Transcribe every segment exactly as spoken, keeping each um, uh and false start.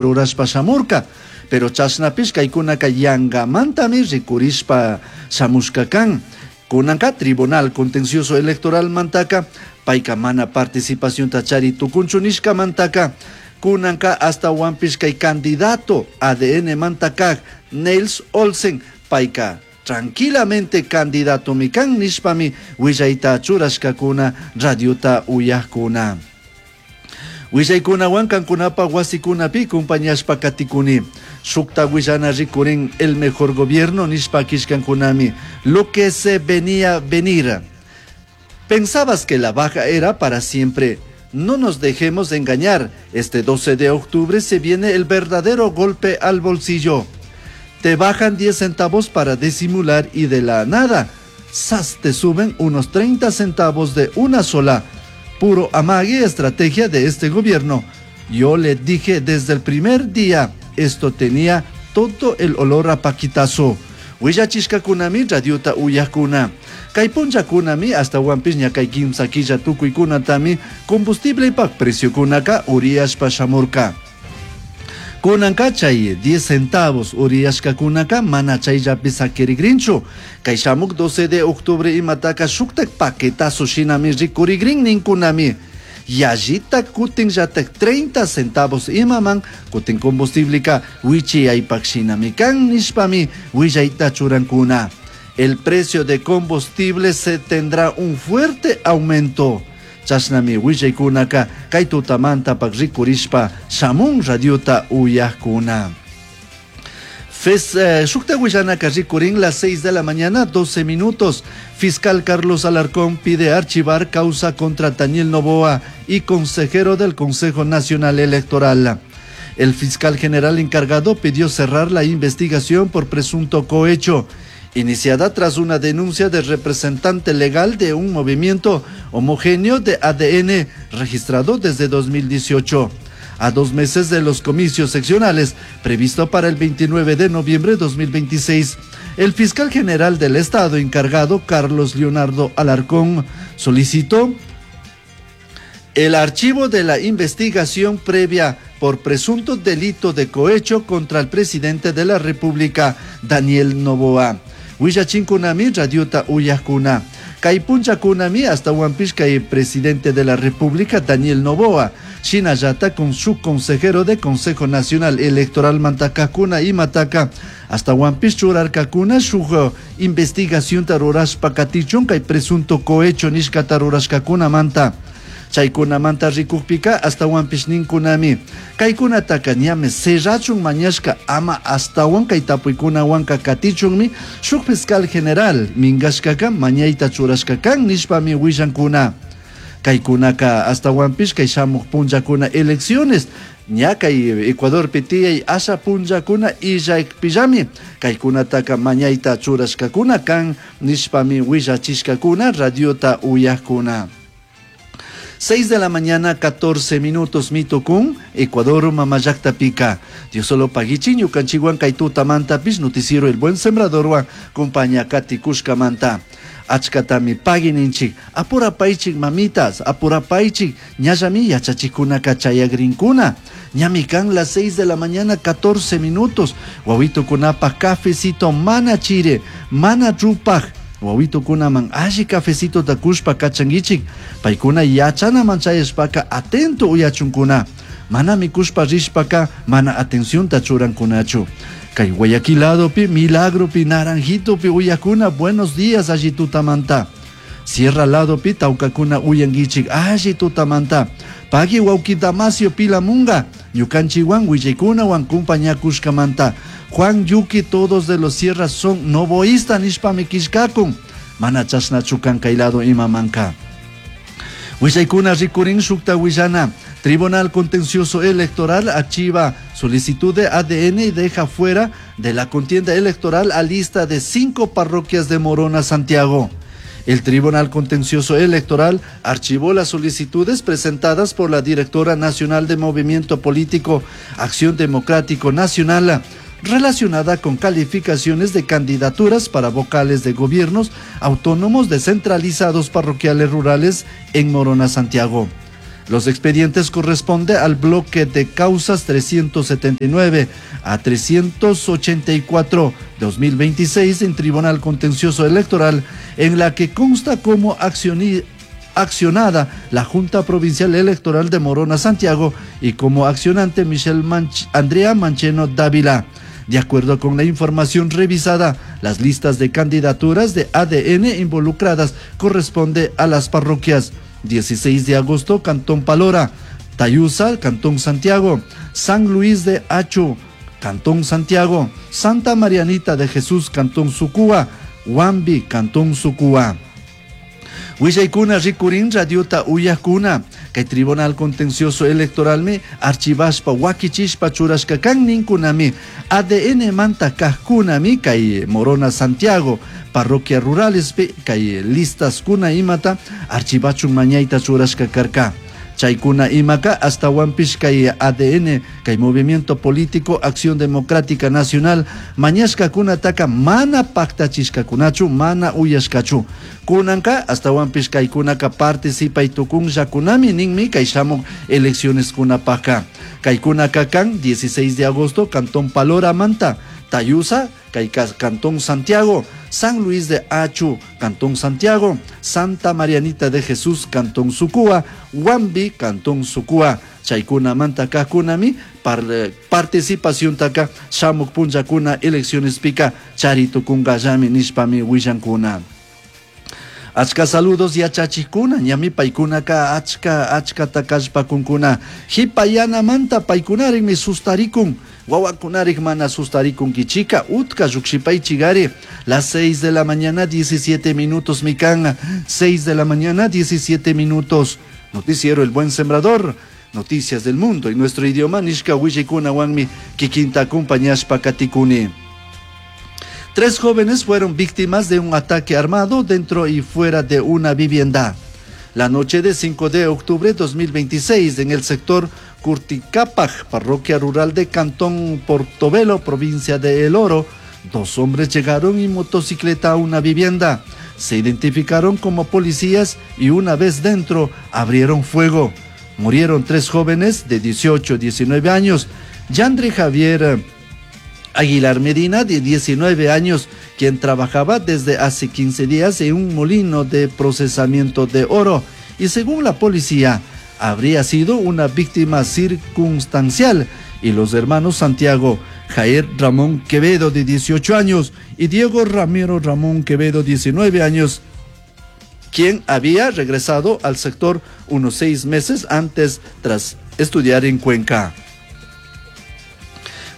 Rurashpa shamurka, pero chashnapish kaykunaka yangamantami rikurishpa shamushka kan. Kunanka Tribunal Contencioso Electoral mantaka payka mana participacionta chari tukunchu nishkamantaka, kunanka ashtawanpish kay candidato A D N manta Nels Olsen payka tranquilamente candidatomi kan nishpami willayta churashkakuna radiota uyajkuna. Willaykunawan kankunapa wasikunapi compañashpa katikuni. Shukta willana rikurin, el mejor gobierno nishpa kishkankunami. Lo que se venía venir. Pensabas que la baja era para siempre. No nos dejemos engañar. Este doce de octubre se viene el verdadero golpe al bolsillo. Te bajan diez centavos para disimular y de la nada, ¡zas!, te suben unos treinta centavos de una sola. Puro amague, estrategia de este gobierno. Yo le dije desde el primer día, esto tenía todo el olor a paquitazo. Willachishkakunami radiota uyakuna. Kay punllakunami ashtawanpish ña kay kimsa killa tukuykunatami combustiblepak preciokunaka uriyashpa shamurka. Kunanka chay diez centavos uriyashkakunaka mana chayllapi sakirigrinchu. Kay shamuk doce de octubre imataka shuktak paquetazo shinami rikurigrin ninkunami. Yallita kutinllatak treinta centavos imaman kutin combustibleka wichiyaypak shinami kan nishpami willayta churankuna. El precio de combustible se tendrá un fuerte aumento. Chashnami willaykunaka kay tutamantapak rikurishpa shamun radiota uyajkuna. Fes, eh, shukta willanaka rikurin las seis de la mañana, doce minutos. Fiscal Carlos Alarcón pide archivar causa contra Daniel Noboa y consejero del Consejo Nacional Electoral. El fiscal general encargado pidió cerrar la investigación por presunto cohecho, iniciada tras una denuncia del representante legal de un movimiento homogéneo de A D N registrado desde dos mil dieciocho. A dos meses de los comicios seccionales, previsto para el veintinueve de noviembre de dos mil veintiséis, el fiscal general del Estado encargado, Carlos Leonardo Alarcón, solicitó el archivo de la investigación previa por presunto delito de cohecho contra el presidente de la República, Daniel Noboa. Willachinkunami radiota uyajkuna. Kay punchakunami ashtawanpish kay presidente de la República, Daniel Noboa, shinallata con su consejero de Consejo Nacional Electoral mantakakuna imataka ashtawanpish churarkakuna shuk investigación rurashpa katichun kay presunto cohecho nishkata rurashkakunamanta. Chaykunamanta rikukpika ashtawanpish ninkunami kaykunataka ñami cerrachun mañashka, ama ashtawan kay tapuykunawanka katichunmi shuk fiscal general minkashkaka mañayta churashka kan nishpami willankuna. Kaykunaka ashtawanpish kay shamuk punllakuna elecciones ña kay Ecuadorpi tiyay asha punllakuna illakpillami kaykunataka mañayta churashkakuna kan nishpami willachishkakuna radiota uyajkuna. seis de la mañana, catorce minutos, mitokun, Ecuador mamallakta pika. Dios solo paguichi, ñukanchikwan kay tutamantapish, noticiero El Buen Sembrador compañía katikushkamanta. Achkatami pagui ninchik, apurapaychik mamitas, apurapaychik, ñallami yachachikunaka chayagrinkuna. Ñami kan las seis de la mañana, catorce minutos. Wawitukunapa cafecito mana chire, mana rupaj. Wawitukunaman alli cafecito kushpa kachanguichik, paykuna yachanaman chayashpaka atento uyachunkuna. Mana mikushpa rishpaka mana atencionta churankunachu. Kay Guayaquil ladopi, Milagropi, Naranjitopi uyakuna, buenos días alli tutamanta. Sierra ladopi tawkakuna uyanguichik alli tutamanta. Pagui wawki Damasio Pilamunga, ñukanchikwan willaykunawan kumpañakushkamanta. Juan Yuki, todos de los sierras son noboísta nishpami kishkakun. Mana chashnachu kan kay lado imamanka. Willaykuna rikurin shukta willana. Tribunal Contencioso Electoral archiva solicitud de A D N y deja fuera de la contienda electoral a lista de cinco parroquias de Morona, Santiago. El Tribunal Contencioso Electoral archivó las solicitudes presentadas por la directora nacional de Movimiento Político Acción Democrático Nacional relacionada con calificaciones de candidaturas para vocales de gobiernos autónomos descentralizados parroquiales rurales en Morona, Santiago. Los expedientes corresponden al bloque de causas trescientos setenta y nueve a trescientos ochenta y cuatro dos mil veintiséis en Tribunal Contencioso Electoral, en la que consta como accioni-, accionada la Junta Provincial Electoral de Morona, Santiago, y como accionante Michelle Manch-, Andrea Mancheno Dávila. De acuerdo con la información revisada, las listas de candidaturas de A D N involucradas corresponde a las parroquias dieciséis de agosto, Cantón Palora, Tayusa, Cantón Santiago, San Luis de Acho, Cantón Santiago, Santa Marianita de Jesús, Cantón Sucúa, Huambi, Cantón Sucúa. Willaykuna rikurin radiota uyakuna, kay Tribunal Contencioso Electoral me archivashpa wakichishpa churashka kan ninkunami A D N manta kajkunami kay Morona Santiago, parroquia rurales pe kay listas kuna imata archivachun mañayta churashka karka. Chaykuna imaka hasta Huampish kay A D N, kay Movimiento Político Acción Democrática Nacional, mañashka kunataka mana paktachishkakunachu, mana uyashkachu. Kunanka hasta Huampish kay kunaka participay tukun yakunami ninmi kay shamuk elecciones kunapaka. Kay kunaka kan dieciséis de agosto, Cantón Palora Manta, Tayusa, kay Cantón Santiago, San Luis de Achu, Cantón Santiago, Santa Marianita de Jesús, Cantón Sucúa, Huambi, Cantón Sucúa. Chaykuna manta kakunami, par-, participación taka, shamuk punllakuna, elecciones pica, charito kungallami nishpami willankuna. Achka saludos yachachikuna, ñami paykunaka achka, achka takashpakunkuna. Hipayana manta paykunarik sustarikun, wawakunarik mana sustarikun kichika, utka llukshipaychigari. Las seis de la mañana, diecisiete minutos, mikan. Seis de la mañana, diecisiete minutos. Noticiero El Buen Sembrador, noticias del mundo en nuestro idioma, nishka willikuna wanmi, kikinta acompañashpa katikuni. Tres jóvenes fueron víctimas de un ataque armado dentro y fuera de una vivienda. La noche de cinco de octubre de dos mil veintiséis, en el sector Curticapaj, parroquia rural de Cantón Portovelo, provincia de El Oro, dos hombres llegaron en motocicleta a una vivienda. Se identificaron como policías y una vez dentro abrieron fuego. Murieron tres jóvenes de dieciocho a diecinueve años. Yandri Javier Aguilar Medina, de diecinueve años, quien trabajaba desde hace quince días en un molino de procesamiento de oro y según la policía habría sido una víctima circunstancial, y los hermanos Santiago Jair Ramón Quevedo, de dieciocho años, y Diego Ramiro Ramón Quevedo, diecinueve años, quien había regresado al sector unos seis meses antes tras estudiar en Cuenca.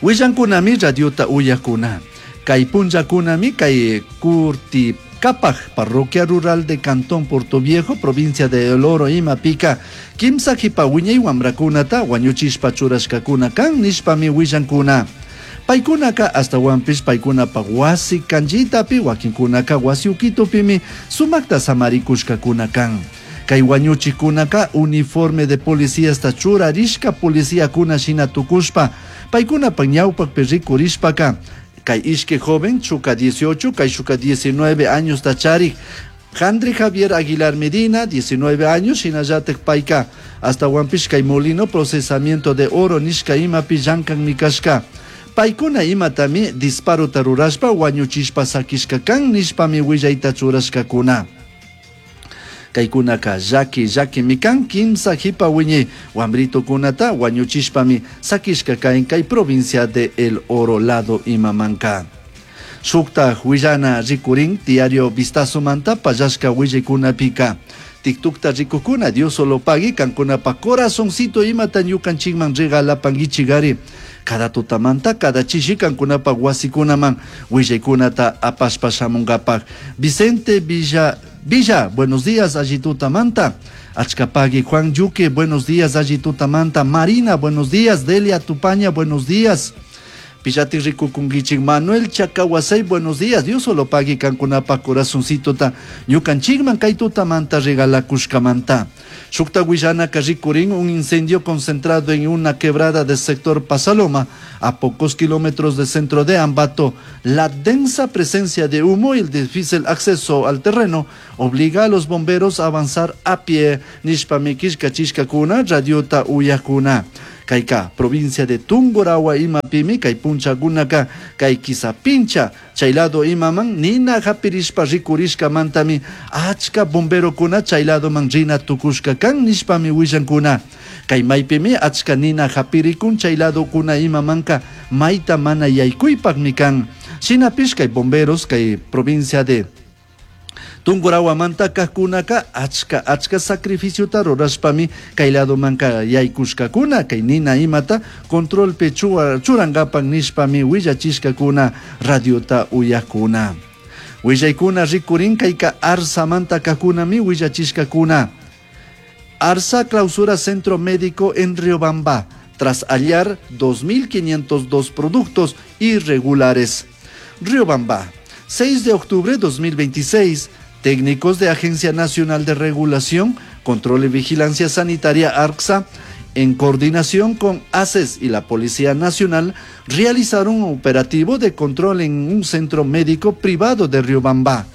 Willankunami radiota uyakuna. Kay punllakunami kay Curticapaj, parroquia rural de Cantón Portoviejo, provincia de El Oro, Imapica. Kimsa jipa wiñay wamrakunata wañuchishpa churashkakuna kan nishpami willankuna. Paykunaka hasta wampish paykunapa wasi kanchitapi, wakinkunaka wasi ukitupimi sumakta samarikushkakuna kan. Kay wañuchikunaka uniforme de policía hasta churarishka policía kuna shina tukushpa. Paykunapa ñawpakpi rikurishpaka. Kay ishke joven, chuka dieciocho, kay shuka diecinueve años tacharik. André Javier Aguilar Medina, diecinueve años, shinallatek payka. Hasta wampish kay molino procesamiento de oro nishka imapi llankan mikashka. Paykuna imatami disparo tarurashpa wañuchishpa sakishka kan nishpami willayta churashkakuna. Kaykunaka llaki llaki mikan kimsa jipa wiñi wambrito kunata wañuchishpami sakishka kain kay provincia de El Oro lado imamanka. Shukta willana rikurin diario Vistazo manta payashka willikunapika. Tiktukta rikukuna Dios solo pagui kankunapa corazoncito imata ñukanchikman regalapanguichigari. Cada tutamanta, cada chishi kankunapa wasikunaman willikunata apashpa shamungapak. Vicente Villa Villa, buenos días, allí tutamanta. Achcapagui, Juan Yuque, buenos días, allí tutamanta. Marina, buenos días. Delia Tupaña, buenos días. Pillati rikukunkichik. Manuel Chacahuasay, buenos días. Dios solo pagui kankunapa corazoncitota ñukanchikman kay tutamanta regalakushkamanta. Shukta willanaka rikurin un incendio concentrado en una quebrada del sector Pasaloma, a pocos kilómetros del centro de Ambato. La densa presencia de humo y el difícil acceso al terreno obliga a los bomberos a avanzar a pie. Nishpami killkachishkakuna, radiota uyakuna. Kayka provincia de Tungurahua imapimi kay punchakunaka kay Quisapincha chay lado imaman nina hapirishpa rikurishkamantami achka bomberokuna chay ladoman rina tukushka kan nishpami willankuna. Kay maypimi achka nina hapirikun chay ladokuna imamanka mayta mana yaykuypakmi kan. Shinapish kay bomberos kay provincia de Tungurahuamanta kajkunaka achka achka sacrificiota rurashpami kay ladomanka yaykushkakuna kay nina imata controlpi churankapak nishpami willachishkakuna radiota uyakuna. Willaykuna rikurin kayka Arsamanta kajkunami willachishkakuna. Arsa clausura centro médico en Riobamba tras hallar dos mil quinientos dos productos irregulares. Riobamba, seis de octubre de dos mil veintiséis. Técnicos de Agencia Nacional de Regulación, Control y Vigilancia Sanitaria ARCSA, en coordinación con ACES y la Policía Nacional, realizaron un operativo de control en un centro médico privado de Riobamba.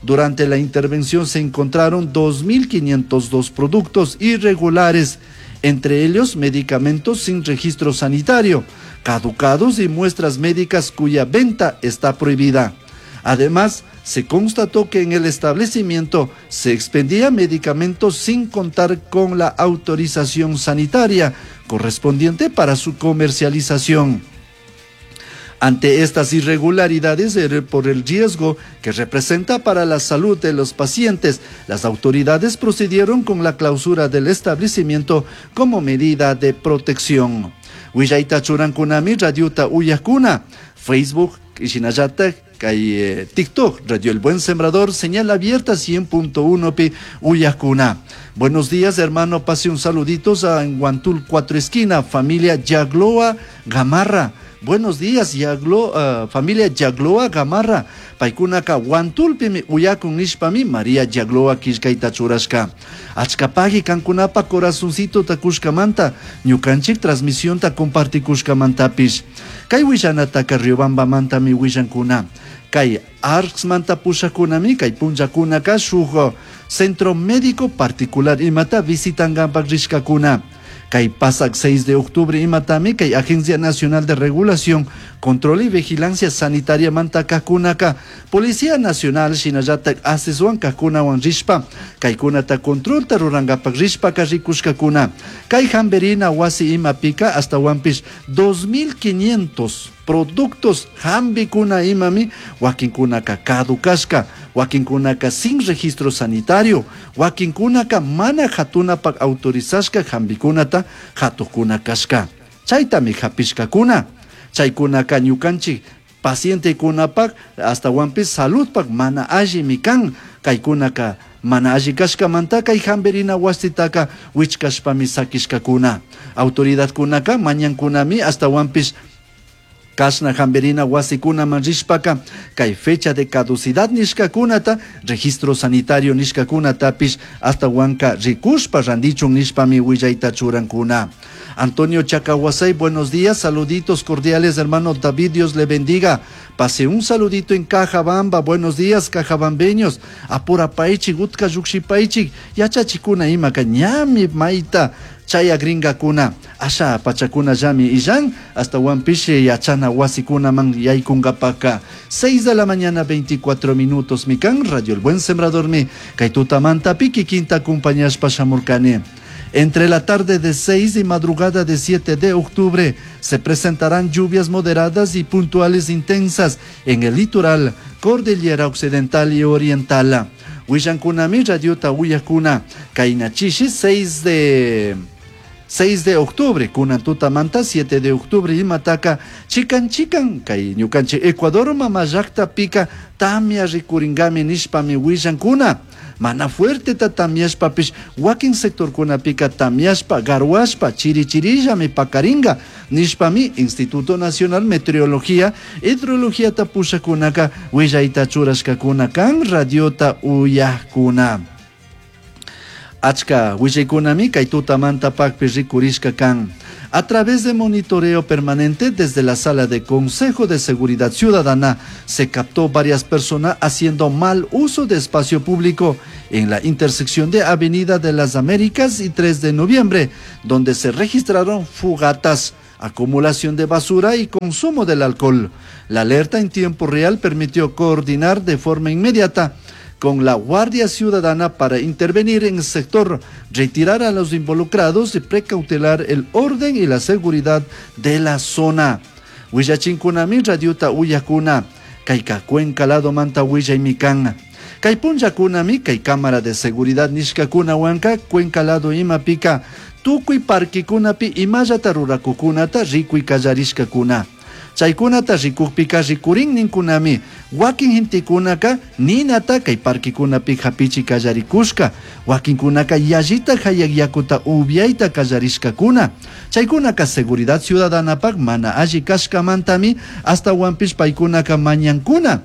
Durante la intervención se encontraron dos mil quinientos dos productos irregulares, entre ellos medicamentos sin registro sanitario, caducados y muestras médicas cuya venta está prohibida. Además, se constató que en el establecimiento se expendía medicamentos sin contar con la autorización sanitaria correspondiente para su comercialización. Ante estas irregularidades por el riesgo que representa para la salud de los pacientes, las autoridades procedieron con la clausura del establecimiento como medida de protección. Willayta churankunami radiota uyakuna, Facebook shinallatak kay TikTok, Radio El Buen Sembrador, señal abierta cien punto uno pi uyakuna. Buenos días, hermano, pase un saluditos a Huantul Cuatro Esquina, familia Yagloa Gamarra. Buenos días, Yaglo, uh, familia Yagloa Gamarra. Paykunaka Huantulpimi uyakun nishpami María Yagloa killkayta churashka. Achkapagi kankunapa corazoncito takushkamanta, ñukanchik transmisionta compartikushkamantapish. Kay willanataka Riobambamantami willankuna. Kay ARCSmanta pushakunami, kay punllakunaka shuk centro médico particular imata visitangapak rishkakuna. Kay pasak seis de octubre imatami kay Agencia Nacional de Regulación, Control y Vigilancia Sanitaria manta kakunaka, Policía Nacional shinallatak asesuan kakunawan rishpa, kaykunata controlta rurangapak rishpa karrikushkakuna. Kay hamberina wasi imapika hasta wampish dos mil quinientos productos hambikuna imami, wakinkunaka kadukashka, wakinkunaka sin registro sanitario, wakinkunaka mana hatunapak autorizashka hambikunata hatukuna kashka. Chaytami hapishkakuna. Chaykunaka ñukanchik pacientekunapak hasta wampis saludpak mana allimi kan. Kaykunaka mana alli kashkamanta kay hamberina wasitaka wichkashpami sakishkakuna. Autoridadkunaka mañankunami hasta wampis kashna hamberina wasikunaman rishpaka kay fecha de caducidad nishkakunata, registro sanitario nishkakunatapish hasta wanka rikushpa randichun nishpami willayta churankuna. Antonio Chacahuasay, buenos días, saluditos cordiales, hermano David, Dios le bendiga. Pase un saludito en Cajabamba, buenos días, cajabambeños. Apurapaichik, utka lluqshipaichik, yachachikuna imaka ñami maita chaya gringakuna, asha pachakuna llami illan, hasta wampishi yachana wasikuna man yaykungapaka. seis de la mañana, veinticuatro minutos, mikan, Radio El Buen Sembrador mi, kay tutamanta piki quinta acompañashpa shamurkani. Entre la tarde de seis y madrugada de siete de octubre se presentarán lluvias moderadas y puntuales intensas en el litoral, cordillera occidental y oriental. Willankunami, radiota uyakuna, kainachishi, seis de seis de octubre, kunantuta manta, siete de octubre, imataka, chikan chikan, kay ñukanchi Ecuador mamallakta pika, tamia rikuringami nishpami willankuna. Mana fuerteta tamyashpapish wakin sectorkunapika tamyashpa, garhuashpa, chiri chirillami pakaringa nishpami Instituto Nacional Meteorología, Hidrologiata pushakunaka willayta churashkakuna kan radiota uyakuna. Achka willaykunami kay tutamanta pakpi rikurishka kan. A través de monitoreo permanente desde la sala de Consejo de Seguridad Ciudadana se captó varias personas haciendo mal uso de espacio público en la intersección de Avenida de las Américas y tres de noviembre, donde se registraron fogatas, acumulación de basura y consumo del alcohol. La alerta en tiempo real permitió coordinar de forma inmediata con la Guardia Ciudadana para intervenir en el sector, retirar a los involucrados y precautelar el orden y la seguridad de la zona. Willachinkunami radiota uyakuna, kayka Cuenca lado manta willaymi kan. Kay punllakunami kay cámara de seguridad nishkakunawanka Cuenca lado imapika tukuy parquikunapi imallata rurakukunata rikuy kallarishkakuna. Chaykunata rikukpika rikurin ninkunami wakin gentekunaka ninata kay parquikunapi hapichi kallarikushka, wakinkunaka yallita hayak yakuta upiayta kallarishkakuna. Chaykunaka seguridad ciudadanapak mana alli kashkamantami hasta wanpish paykunaka mañankuna.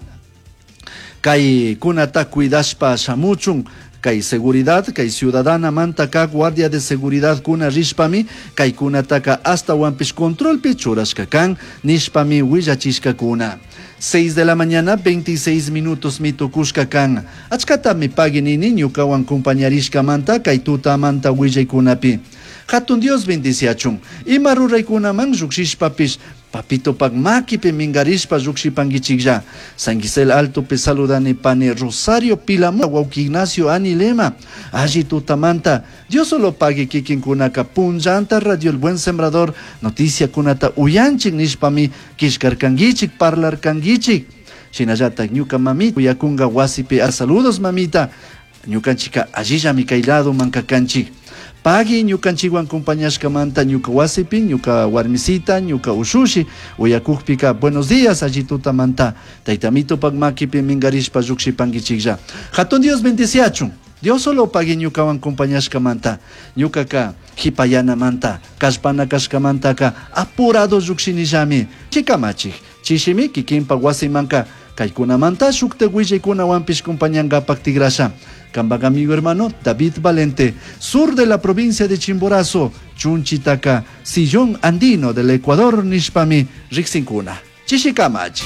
Kaykunata cuidashpa shamuchun kay seguridad, kay ciudadana mantaka guardia de seguridad kuna rishpami kaykunataka hasta wanpish controlpi churashka kan nishpami willachishkakuna. seis de la mañana, veintiséis minutos mitukushka kan. Achkatami pagui nini ñukawan compañarishkamanta kay tutamanta willaykunapi. Hatun Dios bendiciachun. Ima ruraykunaman lluqshishpapish papitopak makipi mingarishpa lluqshipankichiklla. San Gisel Altopi saludani pani Rosario Pilamu, wawki Ignacio Anilema. Alli tutamanta. Dios solo pague kikinkunaka punllanta Radio El Buen Sembrador noticia kunata uyanchik nishpami kishkarkankichik parlarkankichik. Shinallatak ñuka mamita uyakunga wasipi a saludos mamita. Ñukanchika allillami kay lado mankakanchik. Pagui ñukanchikwan compañashkamanta ñuka wasipi, ñuka warmisita, ñuka ushushi, uyakukpika buenos días alli tutamanta. Taytamitopak makipi mingarishpa llukshipankichiklla. Hatun Dios bendiciachun. Dios solo pagui ñukawan compañashkamanta. Ñukaka hipayanamanta, kallpana kashkamantaka apurado llukshinillami. Chikamachik, chishimi kikinpak wasimanka kaykunamanta shukta willaykunawanpish compañankapak tigrasha. Kampak amigo hermano David Valente, sur de la provincia de Chimborazo, Chunchitaca, Sillón Andino del Ecuador, nishpami, riksinkuna. Chishikamachi.